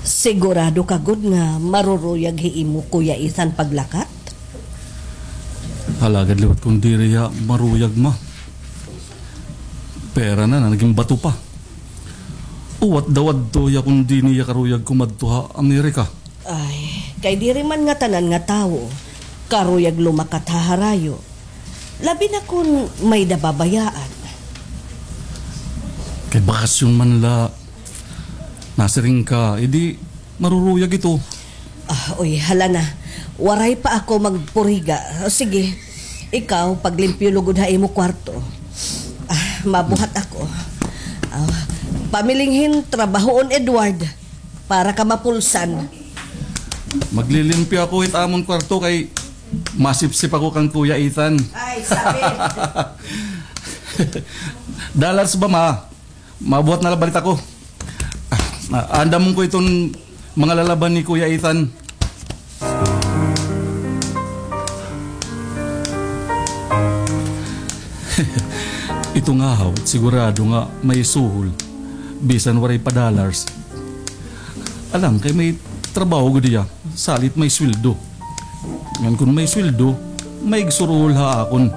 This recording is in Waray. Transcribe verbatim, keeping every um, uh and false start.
Sigurado ka gud nga maruruyag hi imo Kuya Ethan paglakat? Alagad liwat kon diri hiya maruyag, ma. Pera na, nagin bato pa. Uwat daw adto hiya kon diri hiya karuyag kumadto ha Amerika. Ay, kay diri man ngatanan nga tawo karuyag lumakat ha harayo. Labi na kon may nababayaan. Kay bakasyon man la, nasiring ka, edi maruruyag ito. Ah, uy, hala na. Waray pa ako magpuriga. O, sige, ikaw, paglimpyo lugod ha imo kwarto. Ah, mabuhat ako. Ah, pamiling hin trabahoon, Edward, para ka mapulsan. Maglilimpyo ako hit amon kwarto kay masipsip ako kan Kuya Ethan. Ay, sabit. Dollars ba, ma? Mabuhat na la bala ako. Ah, andamon ko iton mga lalaban ni Kuya Ethan. Ito nga haw, sigurado nga may suhol. Bisan waray pa dollars. Alam, kay may trabaho gud hiya, salit may sweldo. Ngan kon may sweldo, may igsuruhol ha akon.